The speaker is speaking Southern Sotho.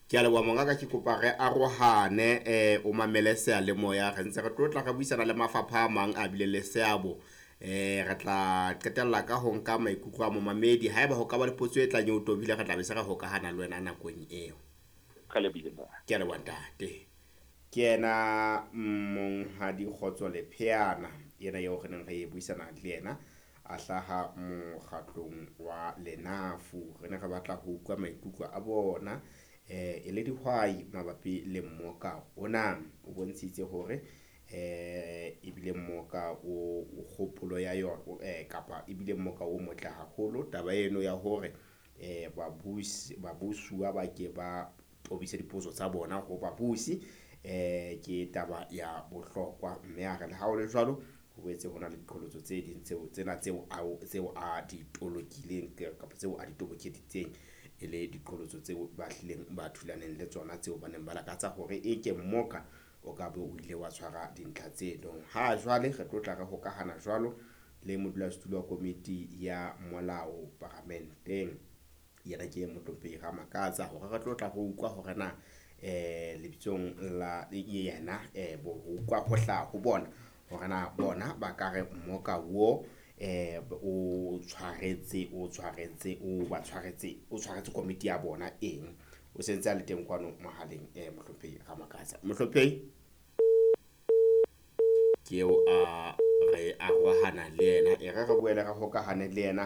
Ke a leboha mongaka, ke kopa re arohane, o mamele seyalemoya. Re ntse re tlo tla re buisana le mafapha a mang a bileng le seabo. Re tla qetella ka ho nka maikutlo a momamedi. Haeba ho ka ba le potso e tlang e o tobile, re tla be se re hokahana le wena nakong eo. Re lebile. Ke a leboha, ntate. Ke yena Monghadi Kgotso Lepheana ena eo re neng re buisana le yena, a hlaha mokgatlong wa Lenafu. Re ne re batla ho utlwa maikutlo a bona e le dihwai mabapi le mmoka ona. O bontshitse hore ebile mmoka o kgopolo ya yona kapa ebile mmoka o motle haholo. Taba eno ya hore babusi babusuwa ba ke ba tobise dipotso tsa bona ho babusi ke taba ya bohlokwa, mme a re le ha ho le jwalo ho boetse ho na le diqholotso tse ding tseo tsena tseo a tseo a di tolokileng kapa tseo a di tobokeditseng e le diqholotso tseo ba hlileng ba thulaneng le tsona, tseo ba neng ba lakatsa hore e ke mmoka o ka be o ile wa tshwara dintlha tseno. Ha jwale re tlo tla re hokahana jwalo le modulasetulo wa komiti ya molao paramenteng, yena ke Mohlomphehi Ramakatsa, hore re tlo tla re utlwa hore na lebitsong la yena bo utlwa ho hlaha ho bona hore na bona ba ka re mmoka wo o tshwaretse o tshwaretse o ba tshwaretse o tshwaretse komiti ya bona eng. O sentse a le teng kwano mohaleng, Mohlomphehi Ramakatsa. Mohlomphehi ke eo a re arohana le yena, e re re boele re hokahane le yena.